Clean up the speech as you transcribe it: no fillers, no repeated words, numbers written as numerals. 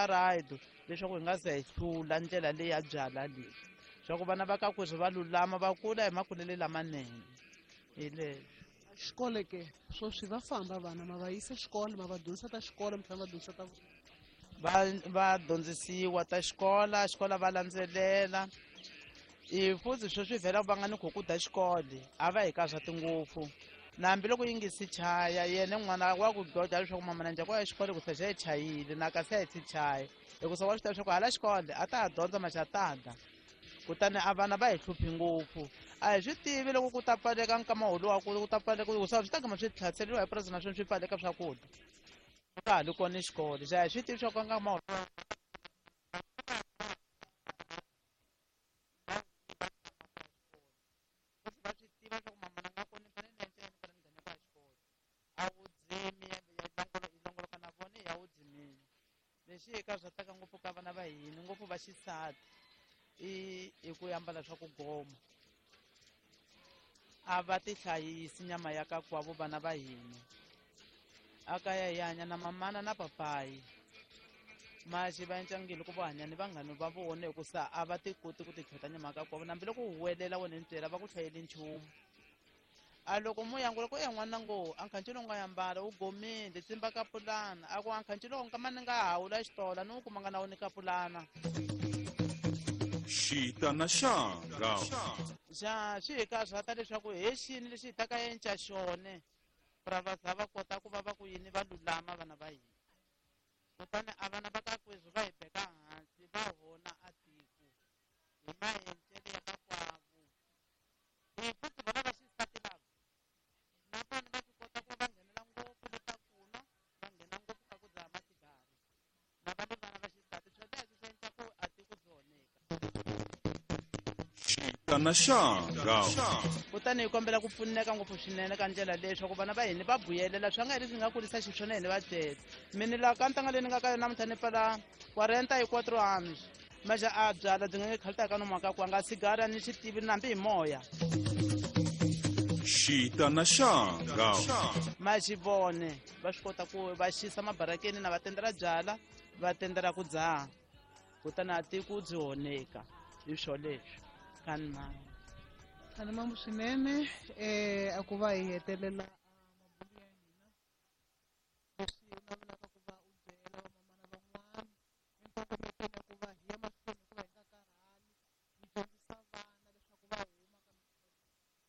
ta right leswaku hi nga ze hi hlula ndlela leyi ya byala leyi swa ku vana va ka kweswi va lulama va kula hi makulele lamanene hi leswo. Xikolo ke swoswi va famba vana ma va yisa xikolo, ma va dyondzisa ta xikolo, mi tlhela va dyondzisa ta va dyondzisiwa ta xikola, xikola va landzelela. I futhi sweswi vhela va nga ni kho ku da xikolo a va hi ka swa tingopfu na hambiloko yi nge si chaya yena n'wana wa ku goja leswaku mama na njhani ya xikolo ku se xa yi chayile na kasi a yi si chaya hikusa wa swi tiva leswaku hala xikolo a ta ha dyondza maxa ta kutani a vana va hi hluphi ngopfu a hi swi tivi loko ku ta pfaleka nkama wolowo ku ta pfaleka hikusa swi ta gama swi tlhaseriwa hi purasi naswona swi pfaleka swakudya ka ha li kona xikolo xa hi swi tivi swa ku nkama wolowo va swi tiva swa ku mamana nga kona ni fanele ni endla yini fanele ni nghena kwa xikolo a wu dzimi ya yi longoloka na vona ya wu dzimini lexi hi ka swa taka ngopfu ka vana va hina ngopfu va xisati i ku ambala swa ku goma a va ti hlayisi nyama ya ka kwavo vana va hina a kaya hi hanya na mamana na papayi maxi va encangile ku va hanya ni vanghani va vona hikusa a va ti koti ku ti tlhota nyama ka kwavo na hambiloko u huwelela wena ntswela va ku hlayeli nchumu a loko mo yangula ku e n'wana ngo a nkhanci lowu nga yambala wu gomile tsimba ka pulana a ku a nkhanci lowu nkama ni nga hawula xitola ni wu kumanga na wu ni ka pulana Xita na xanga. Xa swi hi karhata leswaku he xini lexi hi ta ka enca xone ra va za va kota ku va va ku yini va lulama vana va hina kutani a vana va ka kweswi va hi beka hansi va hona a tiko hi maencele ya ka kwavo hi futhi vona va xisati lava na vona va swi kota ku va nghenela ngopfu le ta kunwa va nghena ngopfu ka ku dzaha masigari na va le vana va xisati swo leswi swi endla ku a tiko byi onheka. Xita na xanga. Kutani hi kombela ku pfuneka ngopfu swinene ka ndlela leyi swa ku vana va hina va buyelela swa nga hi leswi nga kurisa xiswona hina va byela mina laha ka ntanga leyi ni nga ka yona namuntlha ni pfala 44 anos maxa a byala byi nga nge khalita ka nomu ka ku a nga sigara ni xi tivi na hambi hi moya. Xita na xanga. Maxi vone va swi kota ku va xisa mabarakeni na va tendela byala va tendela ku dzaha kutani a tiko byi onheka hi swo leswi kani mama. Kani mama swinene a ku va hi hetelela mabulu ya hina leswi na vona